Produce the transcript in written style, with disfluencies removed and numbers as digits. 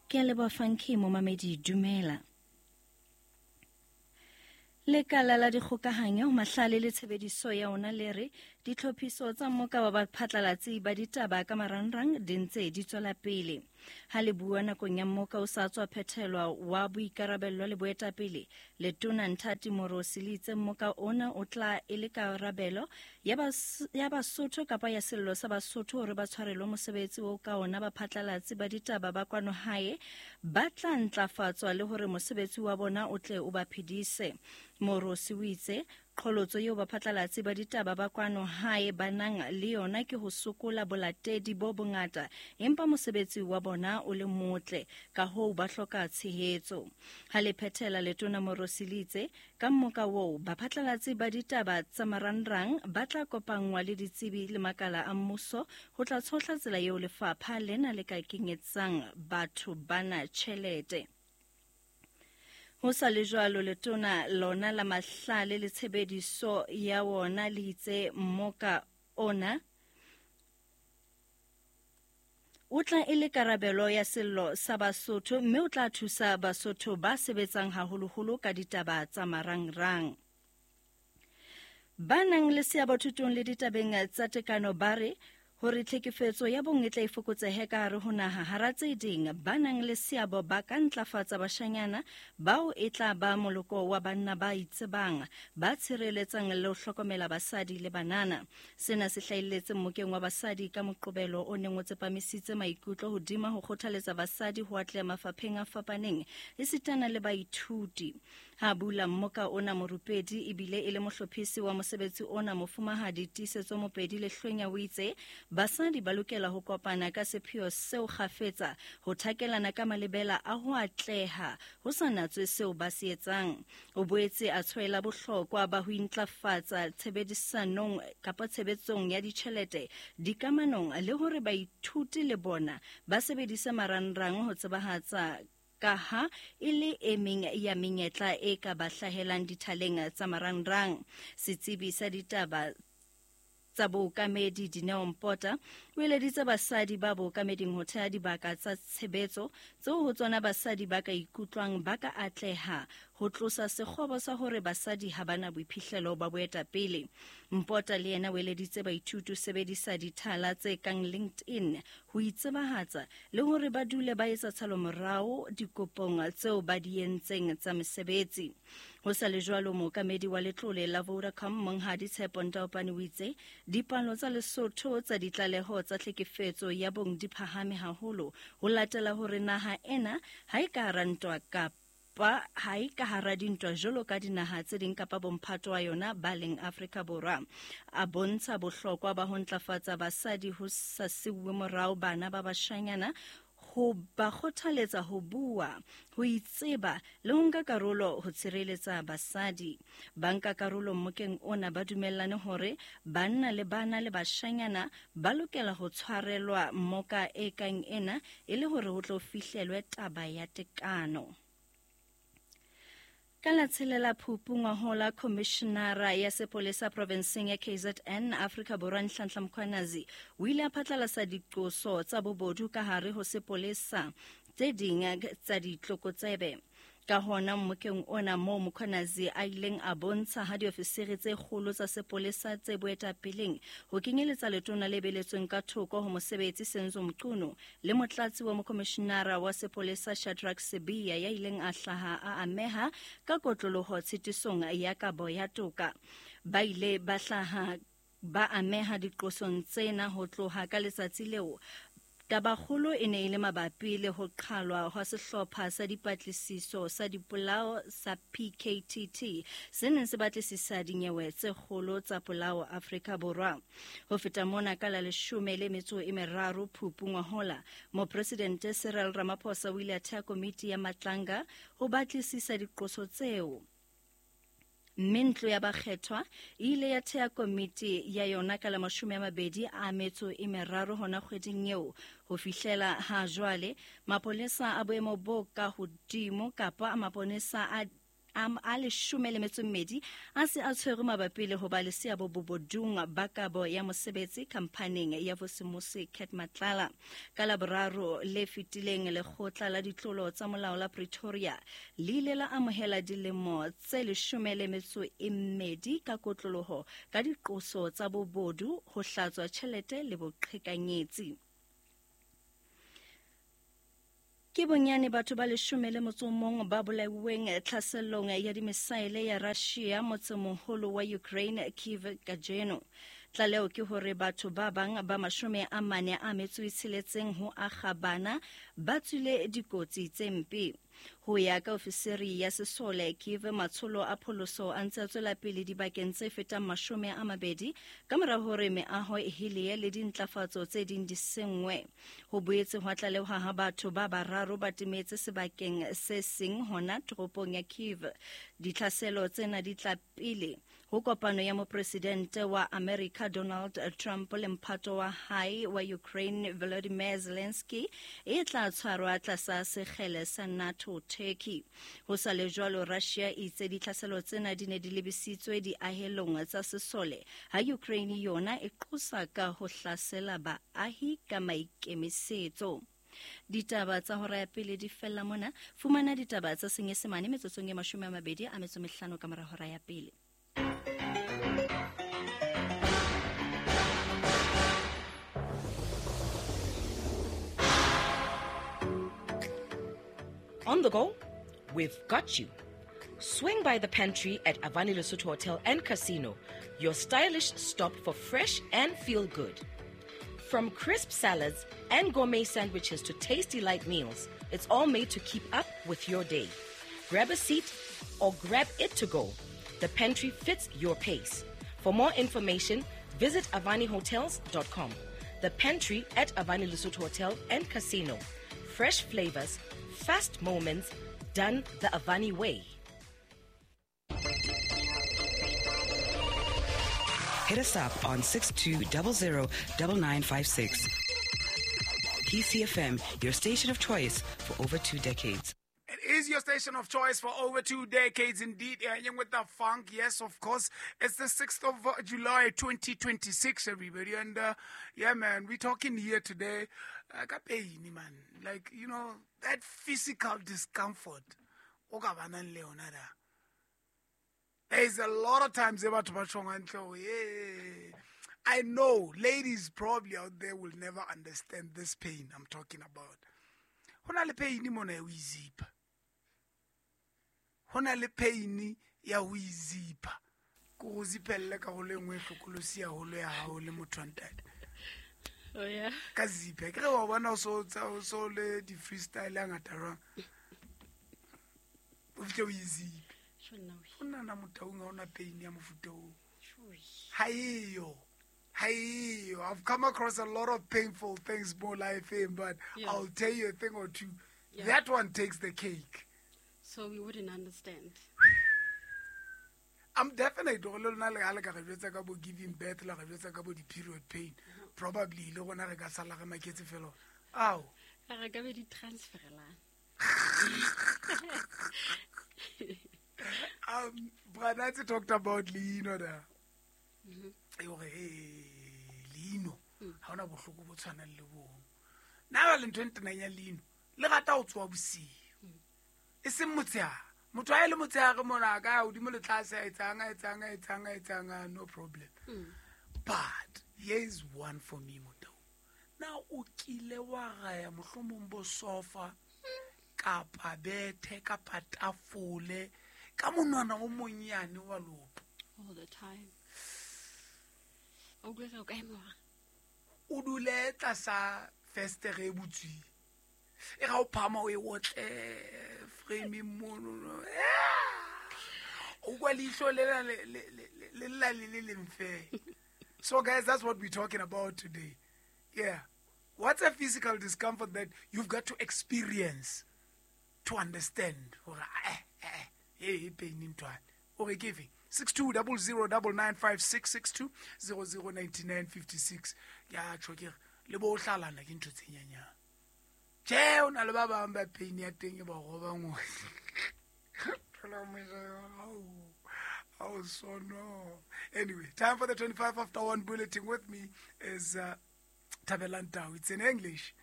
Ke a leboha Funky momamedi dumela. Lekala la dikgokahanyo, mahlale le tshebediso ya ona le re ditlhophiso tsa mmoka wa baphatlalatsi ba ditaba ka marangrang di ntse di tswela pele. Ha le bua nakong ya mmoka o sa tswa phethelwa wa boikarabello le boetapele, Letona Nthati Morosi le itse mmoka ona o tla e le karabelo ya Basotho kapa ya sello sa Basotho hore ba tshwarelwe mosebetsi o ka ona baphatlalatsi ba ditaba ba kwano hae ba tla ntlafatswa le hore mosebetsi wa bona o tle o ba phedise. Morosi o itse qholotso eo baphatlalatsi ba ditaba ba kwano hae ba nang le yona ke ho sokola bolatedi bo bongata empa mosebetsi wa bona o le motle, kahoo ba hloka tshehetso. Ha le phethela, Letona Morosi le itse Ka mmoka woo, baphatlalatsi ba ditaba tsa marangrang ba tla kopanngwa le ditsebi le makala a mmuso ho tla tshohla tsela eo lefapha lena le ka kenyetsang batho bana tjhelete. Ho sa le jwalo, letona lona la mahlale le tshebediso ya wona le itse mmoka ona O tla e le karabelo ya sello sa Basotho mme o tla thusa Basotho ba sebetsang haholoholo ka ditaba tsa marangrang. Ba nang le seabo thutong le ditabeng tsa tekano ba re hore tlhekefetso ya bong e tla e fokotsehe ka hare ho naha. Hara tse ding, ba nang le seabo ba ka ntlafatsa bashanyana bao e tla ba moloko wa banna ba itsebang, ba tshireletsang le ho hlokomela basadi le banana. Sena se hlahelletse mmokeng wa basadi ka Moqobelo o neng o tsepamisitse maikutlo hodima ho kgothaletsa basadi ho atleha mafapheng a fapaneng esitana le baithuti. Ha bula mmoka ona morupedi ebile e le mohlophisi wa mosebetsi ona Mofumahadi Tiisetso Mopedi Lehlwenya o itse basadi ba lokela ho kopana ka sepheo seo kgafetsa ho thakelana ka malebela a ho atleha ho sa natswe seo ba se etsang. O boetse a tshwaela bohlokwa ba ho intlafatsa tshebedisanong kapa tshebetsong ya ditjhelete dikamanong le hore baithuti le bona ba sebedise marangrang ho tsebahatsa kaha e le e meng ya menyetla e ka ba hlahelang dithaleng tsa marangrang. Setsebi sa ditaba tsa bookamedi Dineo Mpota o eleditse basadi ba bookameding ho theha dibaka tsa tshebetso tseo ho tsona basadi ba ka ikutlwang ba ka atleha ho tlosa sekgobo sa hore basadi ha ba na boiphihlelo ba boetapele. Mpota le yena o eleditse baithuti ho sebedisa dithala tse kang LinkedIn ho itsebahatsa le hore ba dule ba etsa tshalomorao dikopong tseo ba di entseng tsa mesebetsi. Ho sa le jwalo, mookamedi wa letlole la Vodacom, Monghadi Tshepo Ntaopane o itse dipalo tsa Lesotho tsa ditlaleho tsa tlhekefetso ya bong di phahame haholo ho latela hore naha ena ha e ka hara ntwa kapa ha e ka hara dintwa jwalo ka dinaha tse ding kapa bomphato wa yona ba leng Afrika Borwa. A bontsha bohlokwa ba ho ntlafatsa basadi ho sa siuwe morao bana ba bashanyana ho ba kgothaletsa ho bua, ho itseba le ho nka karolo ho tshireletsa basadi. Bankakarolo mmokeng ona ba dumellane hore banna le bana le bashanyana ba lokela ho tshwarelwa mmoka e kang ena e le hore ho tlo fihlelwe taba ya tekano. Ka la tshelela Phupu ngwahola, Khomishenara ya Sepolesa provenseng ya KZN, Afrika Borwa Nhlanhla Mkhwanazi o ile a phatlalasa diqoso tsa bobodu ka hare ho sepolesa tse ding tsa ditlokotsebe. Ka hona mmokeng ona moo Mkhwanazi a ileng a bontsha ha diofisiri tse kgolo tsa sepolesa tse boetapeleng ho kenyeletsa letona le beletsweng ka thoko ho mosebetsi Senzo Mchunu le motlatsi wa mokomishinara wa sepolesa Shadrack Sibiya ya ileng a hlaha a ameha ka kotloloho tshitisong ya kabo ya toka. Ba ile ba hlaha ba ameha diqosong tsena ho tloha ka letsatsi leo. Tabakgolo e ne e le mabapi le ho qhalwa hwa sehlopha sa dipatlisiso sa dipolao sa PKTT se neng se batlisisa dinyewe tse kgolo tsa polao Afrika Borwa. Ho feta mona, ka la leshome le metso e meraro Phupu ngwahola, Mopresidente Cyril Ramaphosa o ile a thea komiti ya Matlanga ho batlisisa diqoso tseo. Mme ntlo ya bakgethwa e ile ya thea komiti ya yona ka la 23 hona kgweding eo. Ho fihlela ha jwale, mapolesa a boemo bo ka hodimo kapa maponesa a a 12 a se a tshwerwe mabapi le ho ba le seabo bobodung ba kabo ya mosebetsi khamphaneng ya Vusimusi Cat Matlala. Ka Laboraro le fetileng, lekgotla la ditlolo tsa molao la Pretoria le ile la amohela dilemo tse 12 ka kotloloho ka diqoso tsa bobodu, ho hlatswa tjhelete le boqhekanyetsi. Ke bonyane batho ba 11 ba bolauweng tlhaselong ya dimisaele ya Russia motsemoholo wa Ukraine Kyiv kajeno. Tlaleho ke hore batho ba bang ba 46 ho akga bana ba tswile dikotsi tse mpe. Ho ya ka ofisiri ya sesole Kyiv, matsholo a pholoso a ntse a tswela pele dibakeng tse fetang 20 ka mora hore meaho e helee le dintlafatso tse ding di senngwe. Ho boetse hwa tlalehwa ha batho ba bararo ba timetse sebakeng se seng hona toropong ya Kyiv. Ditlhaselo tsena di tla pele ho kopano ya mopresidente wa America Donald Trump le mphato wa hae wa Ukraine Volodymyr Zelensky e tla tshwarwa tlasa sekgele sa NATO Turkey. Ho sa le jwalo, Russia e itse ditlhaselo tsena di ne di lebisitswe diahelong tsa sesole, ha Ukraine yona e qosa ka ho hlasela baahi ka maikemisetso. Ditaba tsa hora ya pele di fella mona. Fumana ditaba tsa Senyesemane metsotsong e 25 ka mora hora ya pele. On the go? We've got you. Swing by the pantry at Avani Lesotho Hotel and Casino, your stylish stop for fresh and feel good. From crisp salads and gourmet sandwiches to tasty light meals, it's all made to keep up with your day. Grab a seat or grab it to go. The pantry fits your pace. For more information, visit avanihotels.com. The pantry at Avani Lesotho Hotel and Casino. Fresh flavors, fast moments, done the Avani way. Hit us up on 6200 9956. PCFM, your station of choice for over 2 decades. It is your station of choice for over 2 decades indeed. Yeah, with the funk, yes, of course. It's the 6th of July, 2026, everybody. And yeah, man, we're talking here today. Man. Like, you know, that physical discomfort. There's a lot of times I know ladies probably out there will never understand this pain I'm talking about. Ho na le pain mona ya ho izipha. Ho na le pain ya ho izipha. Ko go zipelle ka go le nngwe hlokolosi ya holo ya hao le motho wa ntate. Oh yeah. Ka ziphe ke re wa bona so so le di freestyle ya ngata jwang. O fihle o iziphe. O nna motaung ha ona pain ya mofuta oo. Ha eyo. Hey, I've come across a lot of painful things more life in, but yeah. I'll tell you a thing or two. Yeah. That one takes the cake. So we wouldn't understand. I'm definitely giving birth, the period pain. Probably ow. Branatsi talked about Lino there. Mm-hmm. Leino ha ona bohloko bo tshwanang le bong. Nna ba le ntho e ntenang ya leino le rata ho tsoha bosiu. E seng motshehare. Motho ha e le motshehare mona a ka ya hodimo le tlase a etsang a etsang a etsang a etsang, no problem. But here is one for me, motho. Na o kile wa raya mohlomong bo sofa kapa bethe kapa tafole ka monwana o monyane wa lopo. All the time. O dule tlasa festere e butsweng. E ga o phama o e otle frame mono. O kwa leihlo le la le le leng fela. So guys, that's what we're talking about today. Yeah. What's a physical discomfort that you've got to experience to understand? Hey, pain ntwana. O re ke efe? 62009956 62009956. Ya tjho ke le bo hlalana ke ntho tse nyanyang. Tjhe, o na le ba bang ba pain ya teng e ba robang. thola mosha. Oh, so no. Anyway, time for the 1:25 bulletin. With me is Thabelang Tau. It's in English.